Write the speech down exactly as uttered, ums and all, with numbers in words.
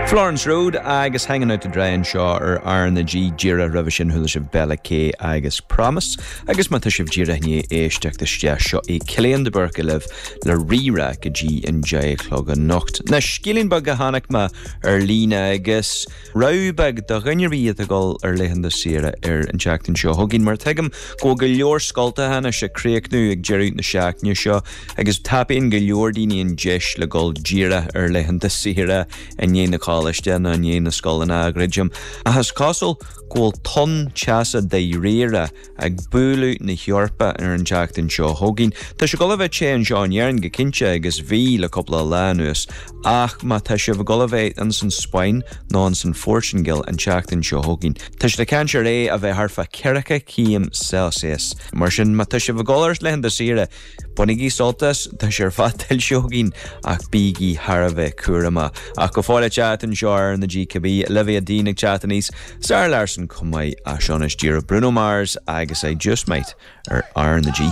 Florence Road agus Hanging Out to Dry anseo ar R na G. Díreach roimhe sin chuala sibh Bella K agus Promise, agus má tá sibh díreach i ndiaidh éisteacht isteach, seo é Cillian de Búrca libh le Rí-Rá go dtí an deich a chlog anocht. Na scéilín beag a chonaic mé ar líne agus rabhadh beag do dhuine ar bith atá ag dul ar laethanta saoire ar an tseachtain seo chugainn, mar tuigim go bhfuil go leor scoltacha anois ag críochnú ag deireadh na seachtaine seo agus tapaíonn go leor daoine an deis le dul díreach ar laethanta saoire i ndiaidh na coláiste nó i ndiaidh na scoileanna a dhruidim. Ach is cosúil go bhfuil tonn teasa dáiríre ag bualadh na hEorpa ar an tseachtain seo chugainn. Tá sé ag dul a bheith te anseo in Éirinn go cinnte agus bhí le cúpla lá anuas, ach má tá sibh ag dul a bheith ins an Spáinn nó ins an Phortaingéil an tseachtain seo chugainn, tá siad ag caint ar é a bheith thart fá ceathracha céim Celsius. Mar sin má tá sibh ag dul ar laethanta saoire, bainigí sult as, tá sé ar fad tuillte againn, ach bígí thar a bheith cúramach. Ach go fóill ag teacht anseo ar R na G cibé, Olivia Dean ag teacht aníos, Zara Larsson chomh maith, ach seo anois díreach Bruno Mars agus I Just Might ar R na G.